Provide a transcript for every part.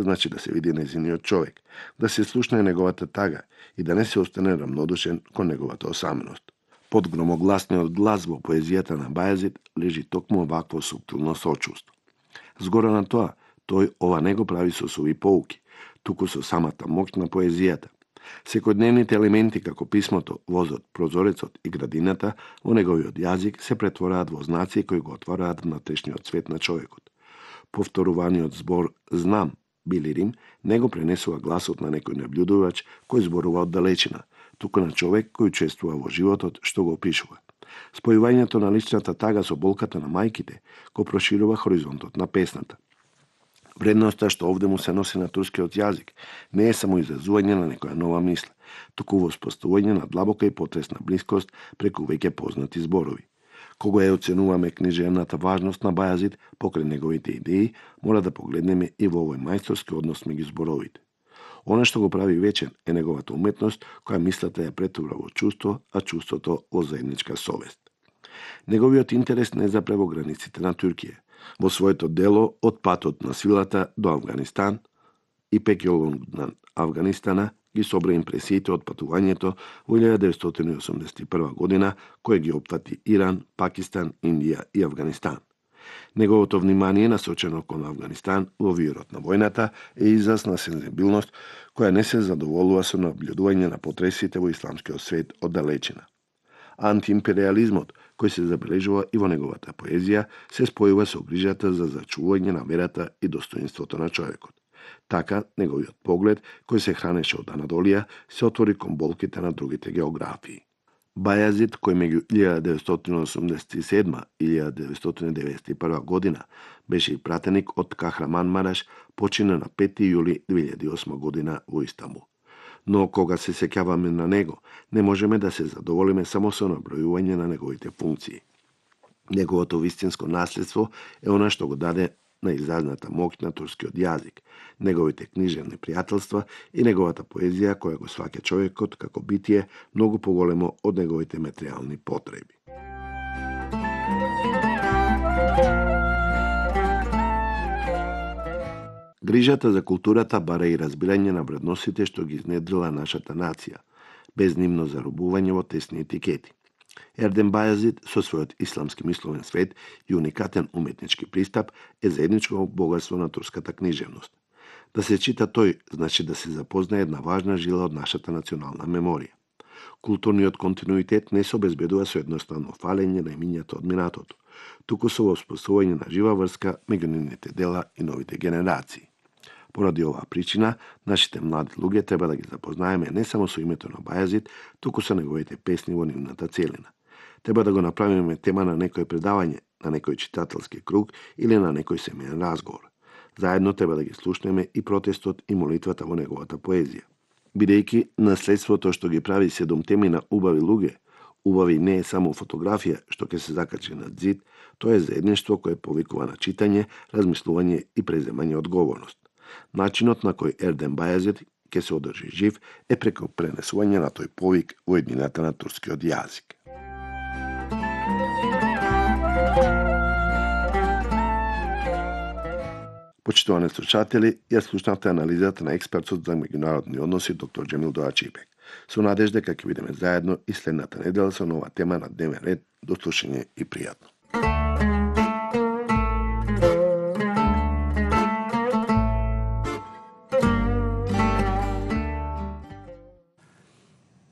значи да се види нејзиниот човек, да се слушне неговата тага и да не се остане рамнодушен кон неговата осаменост. Под громогласниот глас во поезијата на Бајазид лежи токму овакво суптилно сочувство. Згора на тоа, тој ова не го прави со суви поуки, туку со самата моќ на поезијата. Секојдневните елементи како писмото, возот, прозорецот и градината во неговиот јазик се претвораат во знаци кои го отвораат внатрешниот свет на човекот. Повторуваниот збор «знам» били Рим не го пренесува гласот на некој наблюдувач кој зборува од далечина, туку на човек кој учествува во животот што го опишува. Спојувањето на личната тага со болката на мајките го проширува хоризонтот на песната. Вредноста што овде му се носи на турскиот јазик не е само изразување на некоја нова мисла, туку воспоставување на длабока и потресна блискост преку веќе познати зборови. Кога ја оценуваме книжевната важност на Бајазид покрај неговите идеи, мора да погледнеме и во овој мајсторски однос меѓу зборовите. Она што го прави вечен е неговата уметност, која мислата ја претвора во чувство, а чувството во заедничка совест. Неговиот интерес не запре во границите на Туркија. Во своето дело «Од патот на силата до Авганистан» и «Пекјолон на Авганистана» ги собра импресиите од патувањето во 1981 година, кој ги опфати Иран, Пакистан, Индија и Авганистан. Неговото внимание насочено кон Авганистан во вирот на војната е израз на сензибилност која не се задоволува со наблюдување на потресите во исламскиот свет од далечина. Антиимпериализмот, кој се забележува и во неговата поезија, се спојува со грижата за зачувување на верата и достоинството на човекот. Така, неговиот поглед, кој се хранеше од Анадолија, се отвори кон болките на другите географии. Бајазид, кој меѓу 1987 и 1991 година беше и пратеник од Кахраман Мараш, почина на 5 јули 2008 година во Истанбул. Но кога се сеќаваме на него, не можеме да се задоволиме само со набројување на неговите функции. Неговото вистинско наследство е она што го даде на изразната моќ на турскиот јазик, неговите книжевни пријателства и неговата поезија која го сваќа човекот како битие многу поголемо од неговите материјални потреби. Грижата за културата бара и разбирање на вредностите што ги изнедрила нашата нација, без нивно заробување во тесни етикети. Ердем Бајазид со својот исламски мисловен свет и уникатен уметнички пристап е заедничко богатство на турската книжевност. Да се чита тој значи да се запознае една важна жила од нашата национална меморија. Културниот континуитет не се обезбедува со едноставно фалење на имињата од минатото, туку со воспоставување на жива врска меѓу нивните дела и новите генерации. Поради оваа причина, нашите млади луѓе треба да ги запознаеме не само со името на Бајазид, туку со неговите песни во нивната целина. Треба да го направиме тема на некој предавање, на некој читателски круг или на некој семеен разговор. Заедно треба да ги слушнеме и протестот и молитвата во неговата поезија. Бидејќи наследството што ги прави 7 теми на убави луѓе, убави не е само фотографија што ќе се закачи на зид, тоа е заедништво кое повикува на читање, размислување и преземање одговорност. Начинот на кој Ердем Бајазид ќе се одржи жив е преку пренесување на тој повик во еднината на турскиот јазик. Почитувани слушатели, ја слушнавте анализата на експертот за меѓународни односи доктор Џемил Доачипек. Со надежда дека ќе видиме заедно и следната недела со нова тема на дневен ред. До слушање и пријатно.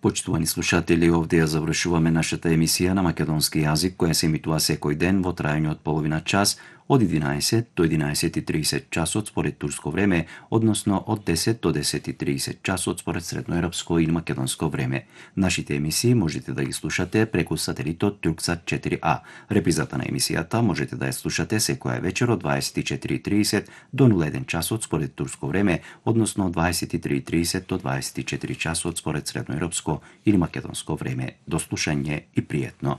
Почитувани слушатели, овде ја завршуваме нашата емисија на македонски јазик, која се емитува секој ден во трајање од половина час, од 11 до 11:30 часот според турско време, односно од 10 до 10:30 часот според средноевропско или македонско време. Нашите емисии можете да ги слушате преку сателитот Турксат 4А. Репризата на емисијата можете да ја слушате секоја вечер од 24:30 до 01 часот според турско време, односно од 23:30 до 24 часот според средноевропско или македонско време. До слушање и пријатно.